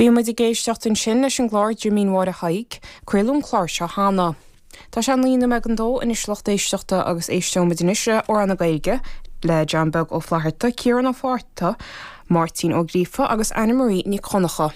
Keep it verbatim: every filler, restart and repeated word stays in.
Bhí muid ag éisteacht ansin leis an gclár Jimín Mháire Thaidhg, craoladh an clár seo cheana. Tá sé naoi nóiméad don dó anois lucht éisteachta agus éisteoimid anois le Amhrán na Gaeilge le John Beag Ó Flatharta, Ciarán Ó Fátharta, Máirtín Ó Gríofa agus Anna Marie Nic Dhonncha.